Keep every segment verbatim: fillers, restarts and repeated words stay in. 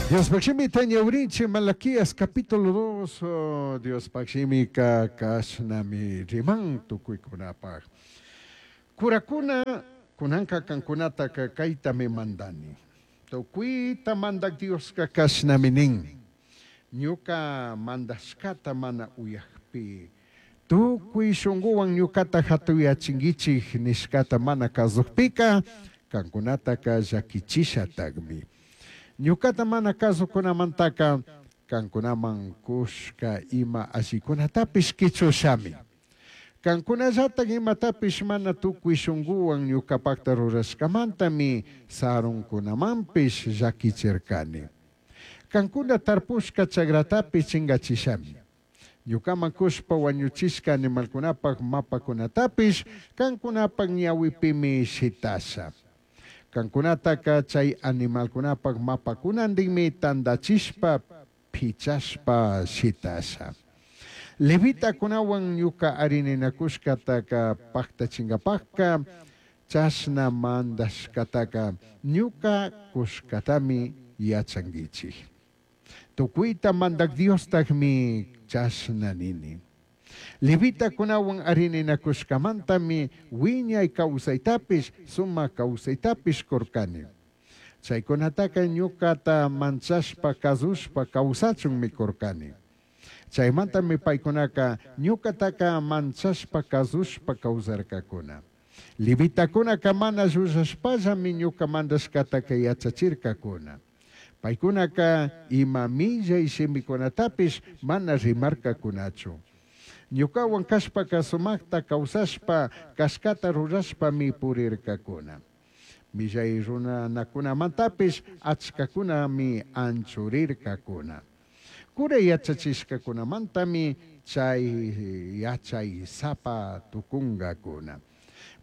Diospaj shimita ñawirinchik Malaquías capítulo dos, oh, Diospaj shimika kashnami riman tukuykunapaj. Curakuna kunanka kankunataka kaytami mandani. Tukuyta mandak Dioska kashnami nin. Ñuka mandashkata mana uyakpi, tukuy shunkuwan ñukata hatuyachinkichik nishkata mana kazukpika, kankunataka llakichishatakmi. Ñukata mana kazukunamantaka, kankunaman kushka ima allikunatapish kichushami. Kankunallatak imatapish mana tukuy shunkuwan ñukapakta rurashkamantami sarunkunamanpish llakichirkani. Kankuna tarpushka chakratapish chingachishami. Ñukaman kushpa wañuchishka animalkunapak mapakunatapish kankunapak ñawipimi shitasha. Kankunataka chay animalkunapak mapakunantinmi tandachishpa pichashpa shitasha. Levitakunawan ñuka arininakushkataka paktachingapakka chashna mandashkataka ñuka kushkatami yachankichik. Tukuyta mandak Diostakmi chashna nini. Levitakunawan arininakushkamantami wiñay kawsaytapish sumak kawsaytapish kurkani. Chaykunataka ñukata manchashpa kazushpa kawsachunmi kurkani. Chaymantami paykunaka ñukataka manchashpa kazushpa kawsarkakuna. Levitakunaka mana llullashpallami ñuka mandashkataka yachachirkakuna. Paykunaka ima millay shimikunatapish mana rimarkakunachu. Ñukawan kashpaka sumakta kawsashpa kashkata rurashpami purirkakuna. Millay runanakunamantapish achkakunami anchurirkakuna. Cura yachachishkakunamantami chay yachay sapa tukunkakuna.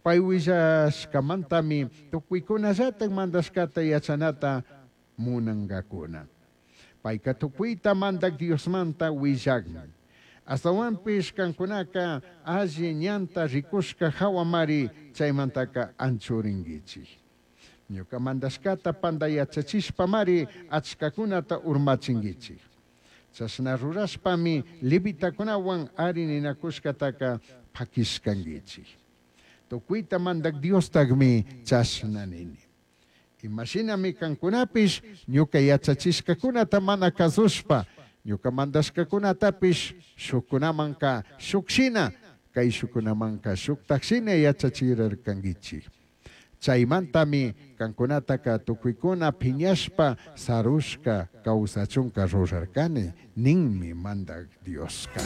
Pay willashkamantami tukuykunallatak mandashkata yachanata munankakuna. Payka tukuyta mandak Diosmanta willakmi. Astawanpish kankunaka alli ñanta rikushka hawamari chaymantaka anchurinkichik. Ñuka mandashkata panda yachachishpamari achkakunata urmachinkichik. Chashna rurashpami levitakunawan arininakushkataka pakishkankichik. Tukuyta mandak Diostakmi chashna nini. Imashinami kankunapish ñuka yachachishkakunata mana kazushpa, ñuka mandashkakunatapish shukkunamanka shukshina, kay shukkunamanka shuktakshina yachachirarkankichik. Chaymantami kankunataka tukuykuna piñashpa sarushka kawsachunka rurarkani ninmi mandak Dioska.